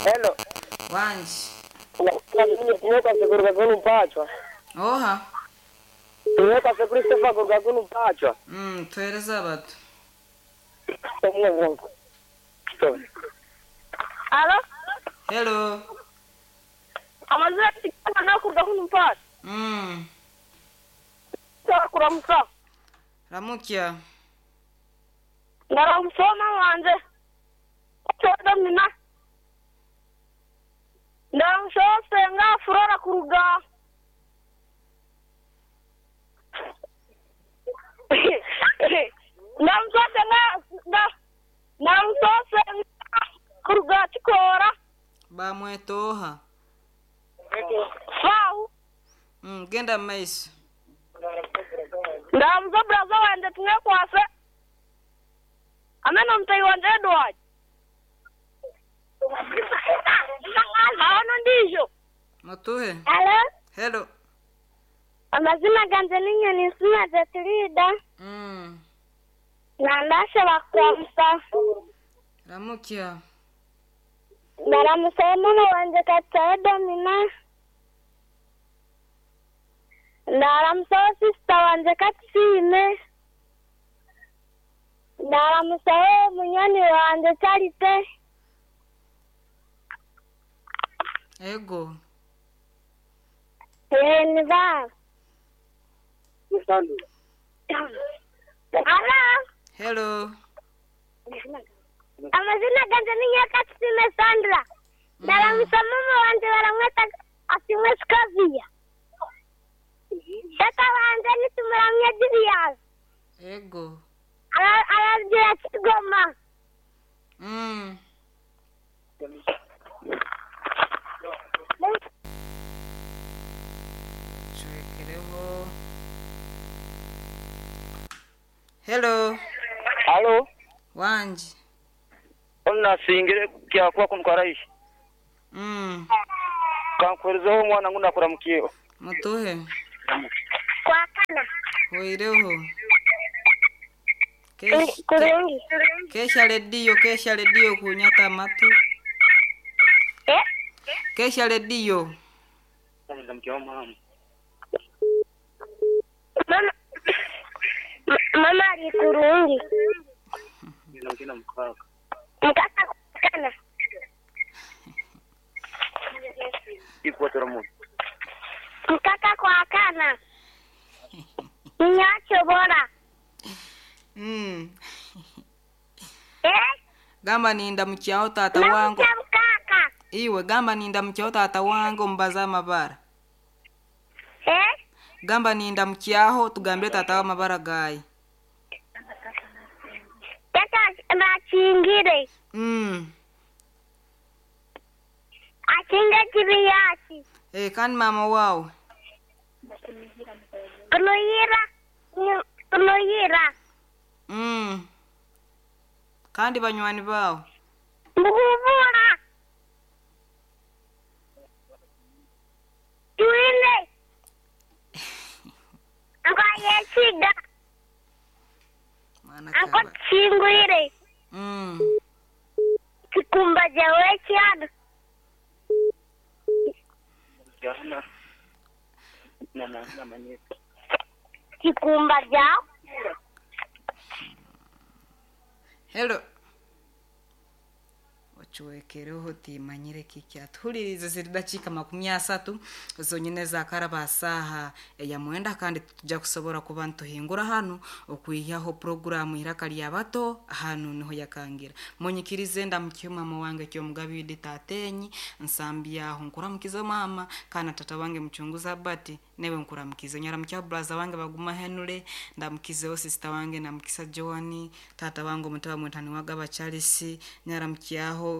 Hello. Wangi. Tumwekase kuruga kunu mpachwa. Oha. Tumwekase Christopher kuruga kunu mpachwa. Tuhereze abatu. Alo, Hello. amazina tikana kuruga kuno mpaka. Kuramusa. Ramukya. Ndaramusoma wanje. Choda mina. Ndaramusoma senga furora kuruga. Ndaramusoma senga nda Ndaramusoma senga kuruga chikora. Bamweta oha. Fau. Genda mu maiso. Ndamuza braza wanje tumwekwase. Amena mtai wanje Edward. Aono ndizvo. Mutuhe. Alo, Hello. amazina ganje ni Nyoni Sina Zetirida nandashobora kuramutsa Ramukya. ndaramutsa mama wanje Katsayo Domina ndaramutsa sisita wanje Katsime ndaramutsa munywani wanje Charite Ego. ni baba. Alo, Hello. amazina ganje ni Nyakatsime Sandra ndaramutsa mama wanje baramwita Asimwe Scovia tata wanje nitumuramye Julius Ego. Aragira Kigoma. Cwekereho. Hello. Halo. Wangi. Onasingire kyakuba kunu karaishi. Kankuherezeho omwana ngu nakuramukiyeho. Mutuhe. Kwakana. Hoireho. Kurungi. Kesha rediyo, kesha rediyo kunyata amatu. Eh? Kesha rediyo. Mama Mama ali kurungi. Mkaka kwakana. Mkaka kwakana. Nyacho bora. Eh? Gamba ninda mukyaho tata wange. Namutya mkaka. Iwe gamba ninda mukyaho tata wange omubaze amabara. Eh? Gamba ninda mukyaho tugambire tata w'amabara gaye. Tata bakingire. Akinga kibiyasi. Eh, kandi mama wawe. Kunuyira. Kunuyira. Kandi banywani bawe. Mbuhubura. Tuine. Anko yesiga. Mwana Anko kaba. chingwire. Kikumba jawe kyano. Kikumba jawe. Hello. Ocuwekereho timanyire kiki atuhulirize ziri dakika 30 zonyine zakaraba saha eya mwenda kandi tujja kusobora kuba nituhingura hanu okwihaho puroguramu iraka lya bato hanu niho yakangira munyikirize ndamukihe mama wange kyomugabi tatenyi nsambyaho nkuramukize mama kana tata wange muchunguza bati newe nkuramukize nyaramukya braza wange baguma henule ndamukizeho sister wange ndamukisa Joani tata wange omutaba mwetani wagaba Charles nyaramukyaho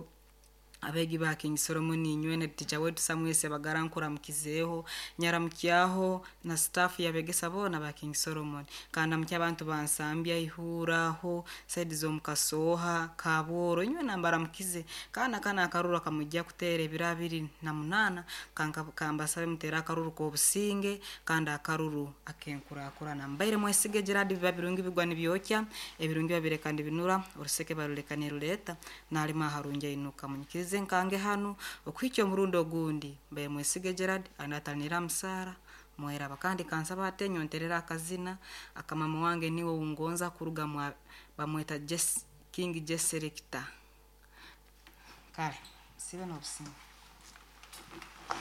abegi ba King Solomon inywene teacher wetu Samuel Sebagara nkuramukizeho nyaramukyaho na staff yabegesa bona ba King Solomon kandi amukya abantu bansambya ihuraho side zo mukasoha kaboro inywe nambara mukize kana kana akaruru kamujya kutera ebiro 28 kanka kambasabe mutera akaruru kobusinge kandi akaruru akenkurakurana mbaire mwesige Gerard biba birungi bigwa nibyokya ebirungi babire kandi binura oruseke baruleka niruleta nalima harunja inuka munyikirize. nyiikirize nkange hanu okuhikya omurundi ogundi. Mbaire Mwesige Gerald anatanira musaara mweraba kandi kansaba ate nyonterera akazina akamama wange niwe oungonza kuruga mwa bamweta Jess, King J Selector. Kale sibe n'obusinge.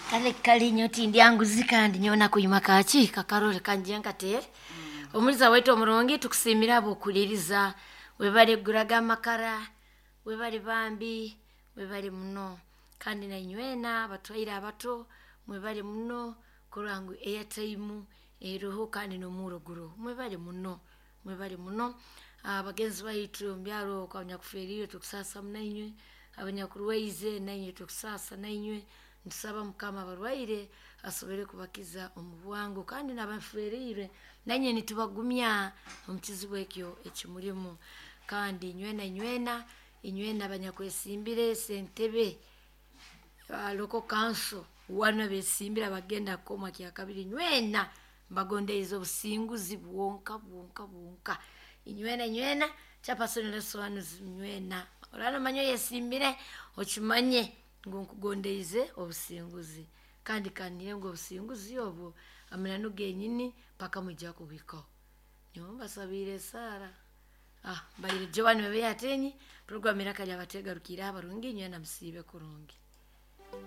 Kale kale nyowe tindya nguzi kandi nyowe nakuyima kaki kakarore kangye nkateere. Omuliza waitu omurungi tukusiimire ahabw'okuhuriiriza webare kuguraga amakara, webare bambi, webare muno. Kandi nainywena abatwaire abato mwebare muno kurora ngu airtime eriho kandi n'omurro guriho. Mwebare muno, mwebare muno. Bagenzi baitu omu byaro okwo abanyakuferiirwe tukusaasa nainywe, abanyakurwaize nainywe tukusaasa nainywe. Nitusaba Mukama abarwaire asobole kubakiza omu bwangu kandi n'abaferiirwe nainywe nitubagumya omu kizibu ekyo ekimurimu. Kandi inywena inywena, inywena abanyakwesimbire sentebe local council wanu abesimbire abagenda kukomwa kyakabiri inywena mbagondeize obusinguzi bwonka bwonka bwonka. Inywena inywena chairperson Lesowanuzi inywena oraba nomanya oyesimbire okimanye ngu nkugondeize obusinguzi kandi kaniire ngu obusinguzi obwo amananu genyini paka mwija kubuhikaho. Nyowe mbasabiire esaara. Mbaire Joan Bebe Atenyi, puroguramu Iraka Lyabateegarukiire abarungi inywena musiibe kurungi.